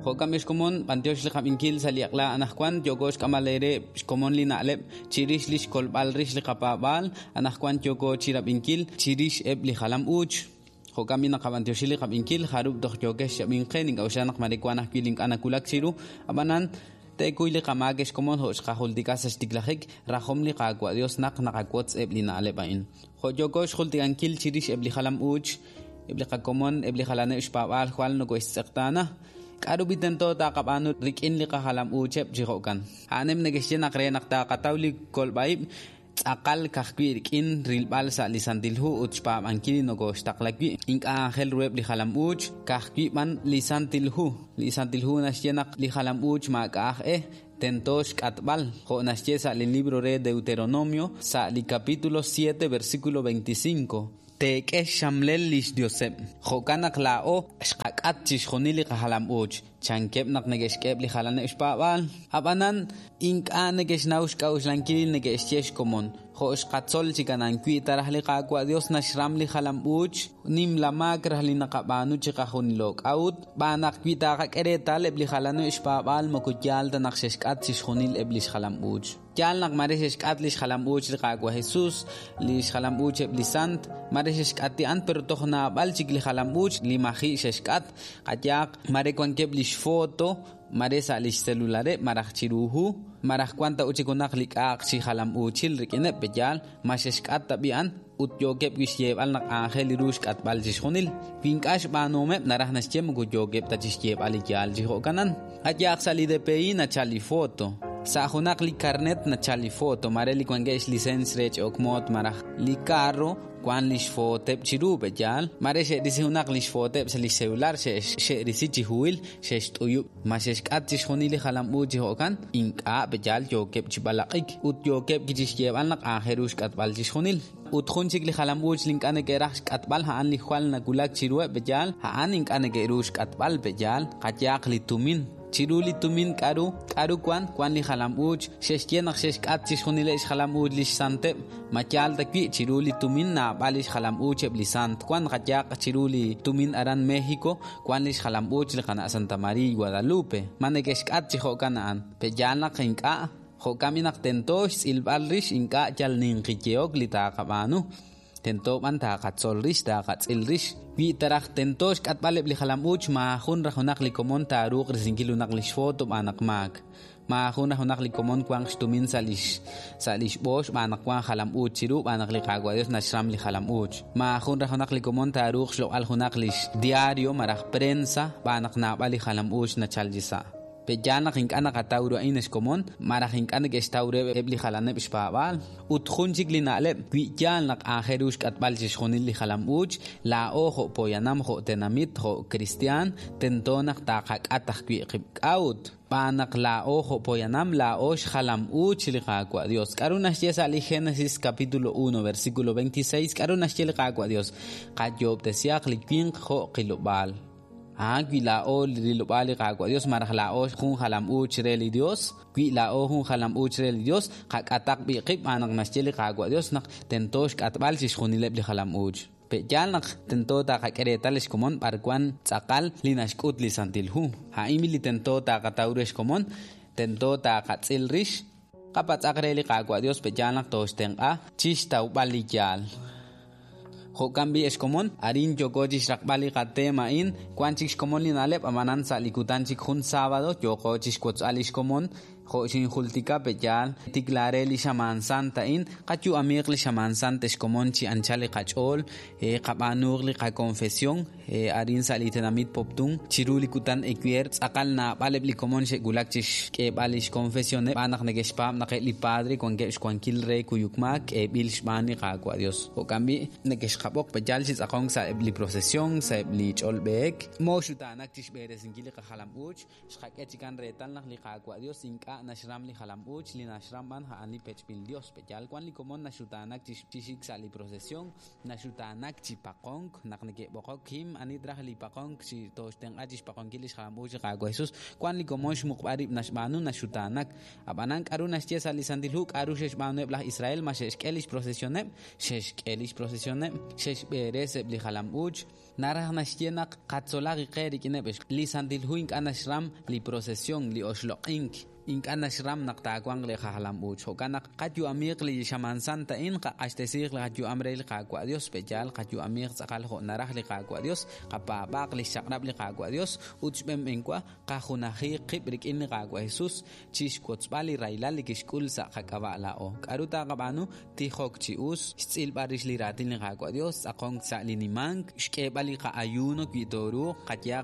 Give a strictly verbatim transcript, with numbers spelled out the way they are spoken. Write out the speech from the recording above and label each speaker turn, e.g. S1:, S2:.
S1: Jo'kan b'i xkomon b'antiox li qab'inkil sa' li aqla anaqwan yooko xk'amb'al eere xkomon li na'leb' chirix li xkolb'al rix li qapaab'aal anaqwan yooko chirab'inkil chirix eb' li jalam uuch. Jo'kan b'i naqab'antioxi li qab'inkil jarub' toj yookex xab'inqe nink'a'uxla naq mare wan ajwi' li ink'a' nawulak chiru ab'anan teekuy li qamaak xkomon jo' xqajultika sa' xtiklajik rajom li Qaawa' Dios naq naqawotz eb' li na'leb' a'in. Jo' yooko xjultikankil chirix eb' li jalam uuch eb' li qakomon eb' li jalaneb' xpaab'aal jwal nokoxtz'eqtaana. K'aru b'i tento taqab'aanu rik'in li qajalam uucheb' chi jo'kan. A'anem neke'xye naq re naq taqataw li kolb'a'ib' tz'aqal kajwi' rik'in rilb'al sa' li Santil Hu ut xpaab'ankil li nokoxtaqla wi'. Ink'a' aajel ruheb' li jalam uuch kajwi' b'an li Santil Hu. Li Santil Hu naxye naq li jalam uuch maak'a' aj e tento xk'atb'al jo' naxye sa' li libro re Deuteronomio sa' li capítulo siete versículo veinticinco. Teek'e xxamlel li xdioseb'. Jo'kan naq laa'o xqak'at chixjunil li qajalam uuch. Chankeb' naq neke'xk'eb' li jalaneb' xpaab'aal. Ab'anan ink'a' neke'xnaw xk'a'uxlankil neke'xye xkomon. Jo' xqatzol chi kanan wi' taraj li Qaawa' Dios naxram li jalam uuch nimla maak raj li naqab'aanu chi qajunilo. K'a'ut b'aan naq wi' taqak'e reetal eb' li jalaneb' xpaab'aal moko yaal ta naq xe'xk'at chixjunil eb' li xjalam uuch. Yaal naq mare xe'xk'at li xjalam uuch li Qaawa' Jesús, li xjalam uuch eb' li sant, mare xe'xk'ati an pero toj naab'al chik li jalam uuch li maji' xe'xk'at. Qayaq mare wankeb' li xfoto mare sa' li xcelulareb' maraj chiru hu, maraj wan ta uchik junaq li k'a'aq chi jalam uuchil rik'ineb' peyaal ma xe'xk'at ta b'i an ut yookeb' wi' xyeeb'al naq aajel li ru xk'atb'al chixjunil. Wi ink'a' xb'aanuhomeb' naraj naxye moko yookeb' ta chixyeeb'al li yaal chi jo'kanan. Qayaq sa' li D P I nachal li foto. Sa' junaq li carnet nachal li foto, mare li wankeb' xlicens re ch'ok moot maraj li carro wan li xfoteb' chiru peyaal, mare xe'risi junaq li xfoteb' sa' li celular xe'risi chi huhil xe'xt'uyub'. Ma xe'xk'at chixjunil li jalam uuch chi jo'kan, ink'a' peyaal yookeb' chi b'alaq'ik ut yookeb' chi xyeeb'al naq aajel ru xk'atb'al chixjunil. Ut jun chik li jalam uuch li ink'a' neke'raj xk'atb'al a'an li jwal nawulak chiruheb' peyaal, a'an ink'a' neke'ru xk'atb'al peyaal, qayaq li tumin. Chiru li tumin k'aru, k'aru wan, wan li jalam uuch, xe'xye naq xe'xk'at chixjunileb' xjalam uuch li xsanteb', ma yaal ta wi' chiru li tumin naab'al li xjalam uuch eb' li sant. Wan qayaq chiru li tumin aran México, wan li xjalam uuch li qana' Santa María Guadalupe. Ma neke'xk'at chi jo'kan a'an. Peyaal naq ink'a', jo'kan b'i naq tento xtz'ilb'al rix ink'a' yal ninqiyehok li taqab'aanu. Tento b'an taqatzol rix, taqatz'il rix. Wi' taraj tento xk'atb'al eb' li jalam uuch maajun raj junaq li komon taaruuq risinkil junaq li xfoto b'aan naq maak. Maajun raj junaq li komon wanq xtumin sa' li sa' li xb'oox b'aan naq wan jalam uuch chiru b'aan naq li Qaawa' Dios naxram li jalam uuch. Maajun raj junaq li komon taaruuq xloq'al junaq li xdiario maraj prensa b'aan naq naab'al li jalam uuch nachal chi sa'. Peyaal naq ink'a' naqataw ru a'in xkomon, maraj ink'a' neke'xtaw ru eb' li jalaneb' xpaab'aal. Ut jun chik li na'leb' wi' yaal naq aajel ru xk'atb'al chixjunil li jalam uuch, laa'o jo' poyanam, jo' tenamit, jo' cristian, tento naq taqak'at ajwi' qib' k'a'ut. B'aan naq laa'o jo' poyanam, laa'o xjalam uuch li Qaawa' Dios. K'aru naxye sa' li Génesis capítulo uno, versículo veintiséis, k'aru naxye li Qaawa' Dios? Qayoob'tesiaq li winq jo' qilob'aal. Ah, wi laa'o li rilob'aal li Qaawa' Dios, maraj laa'o jun jalam uuch re li Dios, wi laa'o jun jalam uuch re li Dios, qak'ataq b'i qib' b'aan naq naxye li Qaawa' Dios naq tento xk'atb'al chixjunileb' li jalam uuch. Peyaal naq tento taqak'e reetal xkomon b'ar wan tz'aqal li naxk'ut li Santil Hu. A'in li tento taqataw re xkomon, tento taqatz'il rix, qapatz'aq re li Qaawa' Dios peyaal naq toxtenq'a chixtawb'al li yaal. Jo'kan b'i xkomon, arin yooko chixraqb'al li qatema a'in, wan chik xkomon li na'leb' amanan sa' li kutan chik jun sábado, yooko chixwotz'al li xkomon, jo' xinjultika peyaal, tiklare li xamaan santa a'in, qayu'amiiq li xamaan santa xkomon chi anchal li qach'ool, qab'aanuuq li qakonfesión, arin sa' li tenamit Poptún, chiru li kutan equier, tz'aqal naab'al eb' li komon xe'wulak chixk'eeb'al li xkonfesioneb', b'aan naq neke'xpaab' naq eb' li padre wankeb' xwankil re kuyukmaak, k'eeb'il xb'aan li Qaawa' Dios. Jo'kan b'i' neke'xqab'oq peyaal chi tz'aqonk sa' eb' li procesión, sa' eb' li ch'olb'eek, mooxutaanak chixb'eresinkil li qajalam uuch, xqak'e chikan reetal naq li Qaawa' Dios ink'a' naxram li jalam uuch, li naxram b'an a'an li pech'b'il Dios. Peyaal wan li komon naxutaanak chixik sa' li procesión, naxutaanak chi paqonk, naq neke'b'oqok him anit raj li paqonk chi toxtenq'a chixpaqonkil li xjalam uuch li Qaawa' Jesús. Wan li komon xmuqb'al rib' naxb'aanu naxutaanak. Ab'anan k'aru naxye sa' li Santil Hu, k'aru xe'xb'aanueb' laj Israel, ma xe'xk'e li xprocesioneb', xe'xk'e li xprocesioneb', xe'xb'eres eb' li jalam uuch. Naraj naxye naq qatzolaq qe rik'ineb' li Santil Hu ink'a' naxram li procesión, li oxloq'ink, ink'a' naxram naq taawanq li qajalam-uuch. Jo'kan naq qayu'amiiq li xamaan sant a'in, qaq'axtesiiq li qayu'am re li Qaawa' Dios, pe'yaal qayu'amiiq tz'aqal jo' naraj li Qaawa' Dios, qapaab'aaq li xchaq'rab' li Qaawa' Dios ut xb'enb'enwa qajunajiiq qib' rik'in li Qaawa' Jesus chi xwotzb'al li rahilal li kixk'ul sa' qak'ab'a' laa'o. K'aru taaqab'aanu? Tijok chi us, xtz'ilb'al rix li raatin li Qaawa' Dios, tz'aqonk sa' li nimank, xk'eeb'al li qa'ayuno wi tooruuq, qayehaq